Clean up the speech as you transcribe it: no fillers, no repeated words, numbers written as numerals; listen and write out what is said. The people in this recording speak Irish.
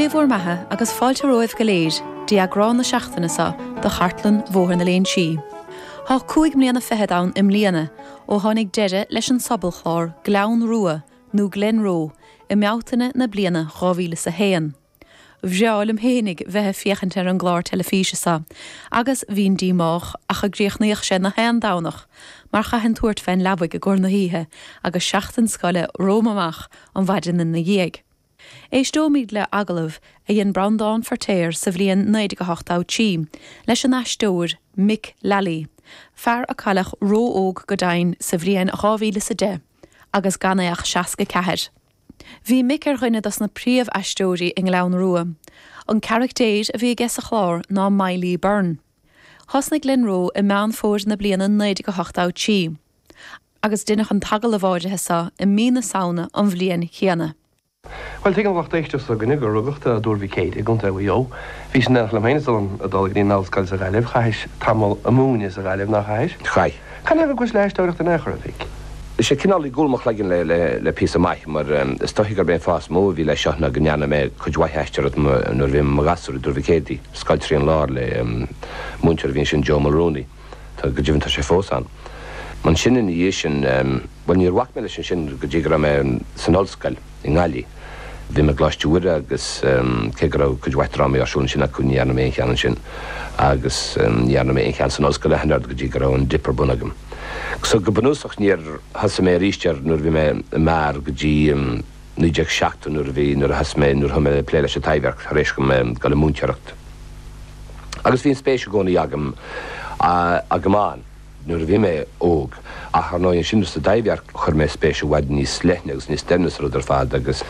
Dé bhur mbeatha agus fáilte romhaibh go léir dtí eagrán na seachtaine seo de Chartlann Bhóthar na Léinsí. Thá 25 mbliana ann i mbliana ó tháinig deireadh leis an sobalchlár Gleann Rua nó Glenroe i mBealtaine na bliana 2001. Bhreá liom fhéinig bheith ag féachaint ar an gclár teilifíse so agus bhínn díomách ach a gcríochnaíodh sé na haon Domhnach mar chaithfinn tabhairt fén leabaidh i gcomhair na hoíche agus seachtain scoile romham amach an mhaidin ina dhiaidh. Éisteoimid le agallamh a dhein Breandán Feirtéar sa bhliain 1983 leis an aisteoir Mick Lally, fear a cailleadh ró-óg go deimhin sa bhliain 2010 agus gan é ach 64. Bhí Mick ar dhuine dos na príomh-aisteoirí i nGleann Rua. An caractéir a bhí aige sa chlár ná Miley Byrne. Thosnaigh Glenroe i Meán Fómhair na bliana 1983 agus deineadh an t-agallamh áirithe so i mí na Samhna an bhliain chéanna. Bhuel, tuigeann lucht éisteachta s'againne gur rugadh tú i dTuar Mhic Éide i gContae Mhaigh Eo. Bhís in éineacht liom féin is ag dul go dtí an ollscoil sa Ghaillimh. Chaithis tamall ag múineadh sa Ghaillimh, nár chaithis? Chaith. Canathaobh a ghabhais le haisteoireacht in aon chor, a Mhic? Is é cineál i gcúl mo chloigeann le píosa maith, mar is dóichí gurb é an fáth is mó a bhí leis seo ná go ndearna mé cuid mhaith aisteoireacht nuair a bhí mé i mo ghasúr i dTuar Mhic Éadaigh, scoil trín lár le múinteoir a bhí ansin, Joe Mulrooney. Tá, go deimhin tá sé fós ann. Ansin ina dhiaidh sin, bhuel níor bhac mé leis ansin go dtí go raibh mé san ollscoil i nGaillimh. Bhí mé i gColáiste Mhuire agus cé go raibh cuid mhaith drámaí ar siúl ansin acu ní dhearna mé aon cheann ansin agus ní dhearna mé aon cheann san ollscoil ach an oiread go dtí go raibh an dip ar bun agam. So go bunúsach níor thosaigh mé arís air nuair a bhí mé i m'fhear go dtí 1970 nuair a bhí, nuair a thosaigh mé, nuair a thosaigh mé ag plé leis an Taibhdhearc tar éis dom dul ag múinteoireacht. Agus bhí an spéis i gcónaí agam, agam ann. nuair a bhí mé óg. Ach ar ndóigh ansin sa Taibhdhearc chuir mé spéis i bhfad níos leithne agus níos doimhne sa rud ar fad agus.